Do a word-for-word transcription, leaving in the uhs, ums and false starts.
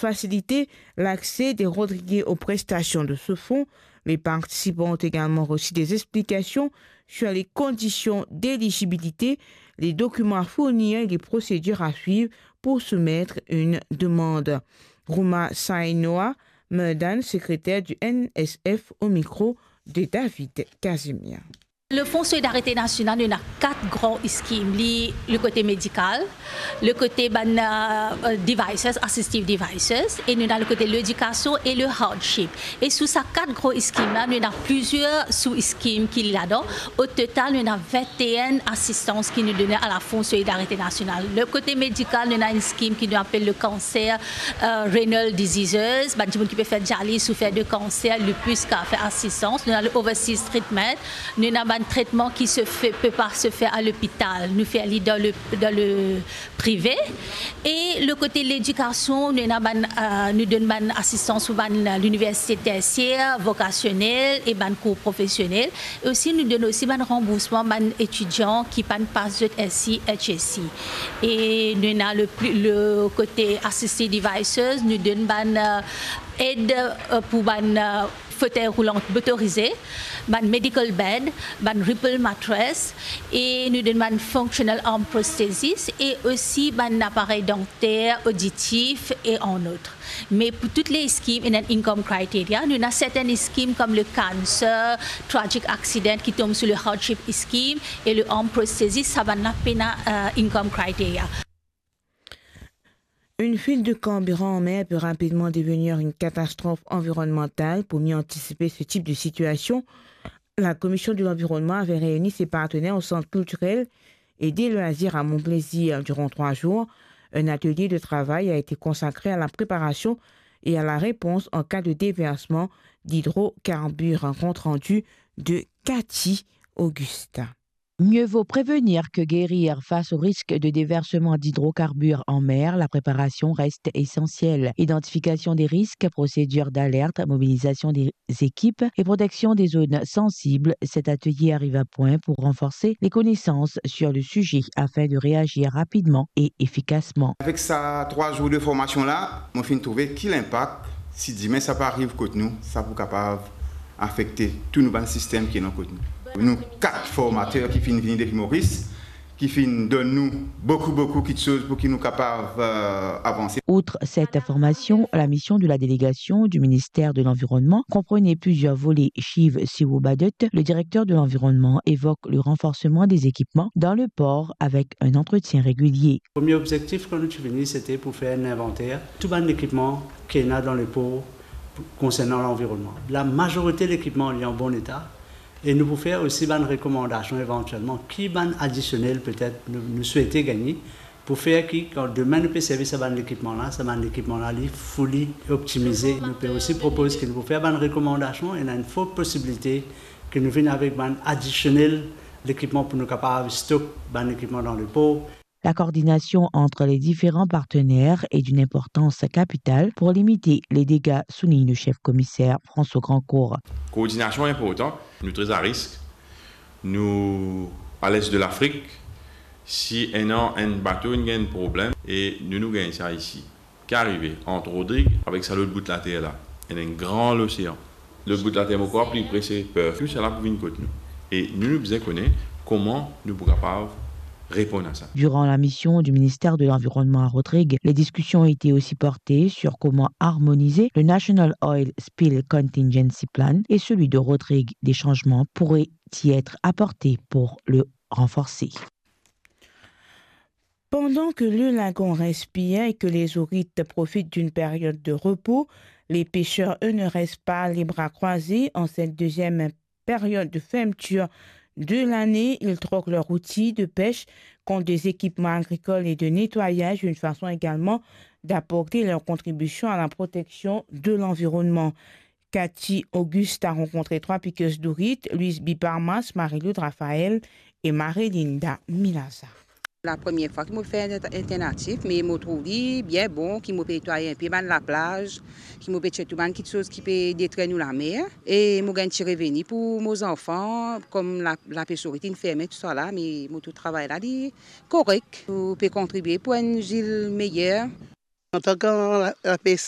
faciliter l'accès des Rodriguais aux prestations de ce fonds. Les participants ont également reçu des explications sur les conditions d'éligibilité, les documents à fournir et les procédures à suivre pour soumettre une demande. Rouma Sainoa Merdan, secrétaire du N S F, au micro de David Casimir. Le Fonds Solidarité Nationale, nou ena kat gran scheme. Li, le kote medikal, le kote bann, euh, devices, assistive devices, e nou ena le kote ledikasion e le hardship. E sou sa kat gran scheme la, nou ena plizier sou scheme ki ladan. O total, nou ena vinteen asistans ki nou done a la Fonds Solidarité Nationale. Le kote medikal, nou ena enn scheme ki nou apel le cancer, euh, renal diseases, bann dimoun ki pe fer dializ soufer de kanser, lupus, kapav fer asistans. Nou ena le overseas treatment, nou ena bann tretman ki se fe, pe pa se fer a lopital, nou fer li dan le, dan le prive. E le kote ledikasion, nou ena bann, euh, nou donn bann asistans pou bann, euh, liniversite tersier, vokasionel e bann kour profesionel. E osi, nou donn osi bann ranboursman bann etidian ki pa'nn pas zot S C, H S C. E nou ena le pli, le kote assistive devices, nou donn bann, euh, ed, euh, pou bann, euh, fotey roulan motorize, bann medical bed, bann Ripple mattress, e nou donn bann functional arm prosthesis, e osi bann aparey danter, oditif, e en autre. Me pou tou le scheme, ena enn income criteria. Nou ena serten scheme kom le cancer, tragic accident ki tom sou le hardship scheme, e le arm prosthesis, sa bann la pena, euh, income criteria. Une fuite de carburant en mer peut rapidement devenir une catastrophe environnementale. Pour mieux anticiper ce type de situation, la Commission de l'Environnement avait réuni ses partenaires au Centre culturel et des loisirs à Mon Plaisir durant trois jours. Un atelier de travail a été consacré à la préparation et à la réponse en cas de déversement d'hydrocarbures. Un compte rendu de Cathy Augustin. Mieux vaut prévenir que guérir. Face au risque de déversement d'hydrocarbures en mer, la préparation reste essentielle. Identification des risques, procédure d'alerte, mobilisation des équipes et protection des zones sensibles, cet atelier arrive à point pour renforcer les connaissances sur le sujet afin de réagir rapidement et efficacement. Avek sa trwa zour de formasion la, mo finn trouve ki linpak, si dimin sa pe ariv kot nou, sa pou kapav afekte tou nou bann sistem ki ena kot nou. Nou kat formater ki finn vini depi Moris, ki finn donn nou boukou, boukou kiksoz pou ki nou kapav, euh, avanse. Outre cette formation, la mission de la délégation du ministère de l'Environnement comprenait plusieurs volets. Shiv Siwobadut, le directeur de l'environnement, évoque le renforcement des équipements dans le port avec un entretien régulier. Premie obzektif kan nou ti vini, sete pou fer enn invanter tou bann lekipman ki ena dan lepor konsernan lanvironnman. Lamazorite lekipman li an bon eta, e nou pou fer osi bann rekomandasion evantielman, ki bann adisionel petet nou, nou swete gagne, pou fer ki, kan demin nou pe servi sa bann lekipman la, sa bann lekipman la, li fully optimize. Nou pe osi propoz ki nou pou fer bann rekomandasion, ena enn for posibilite ki nou vinn avek bann adisionel lekipman pou nou kapav stok bann lekipman dan lepor. La coordination entre les différents partenaires est d'une importance capitale pour limiter les dégâts, souligne le chef commissaire François Grandcourt. Koordinasion inportan, nou tre a risk, nou a lest de Lafrik, si ena enn bato inn gagn problem e nou, nou gagn sa isi. Ki arive ant Rodrig avek sa lot bout later la? Ena enn gran losean. Lot bout later, mo krwar, pli pre se Perth. Tou sala pou vinn kot nou. E nou, nou bizin kone kouma nou pou kapav reponn a sa. Durant la mission du ministère de l'Environnement à Rodrigues, les discussions ont été aussi portées sur comment harmoniser le National Oil Spill Contingency Plan et celui de Rodrigues. Des changements pourraient y être apportés pour le renforcer. Pendant que le lagon respire et que les ourites profitent d'une période de repos, les pêcheurs, eux, ne restent pas les bras croisés. En cette deuxième période de fermeture de l'année, ils troquent leurs outils de pêche contre des équipements agricoles et de nettoyage, une façon également d'apporter leur contribution à la protection de l'environnement. Cathy Auguste a rankontre trwa pikes dourit, Louise Biparmas, Marie-Lou Raphaël e Marie-Linda Milaza. La premie fwa ki mo fer alternatif, me mo trouv li bien bon, ki mo pe netwaye enpe bann laplaz, ki mo pe tir tou bann kiksoz ki pe detrir nou lamer, e mo gagn ti reveni pou mo zanfan, kom la, lapes ourit inn ferme, tousala, me mo trouv travay la, li korek. Nou pe kontribie pou enn zil meyer. Antan ki la, lapes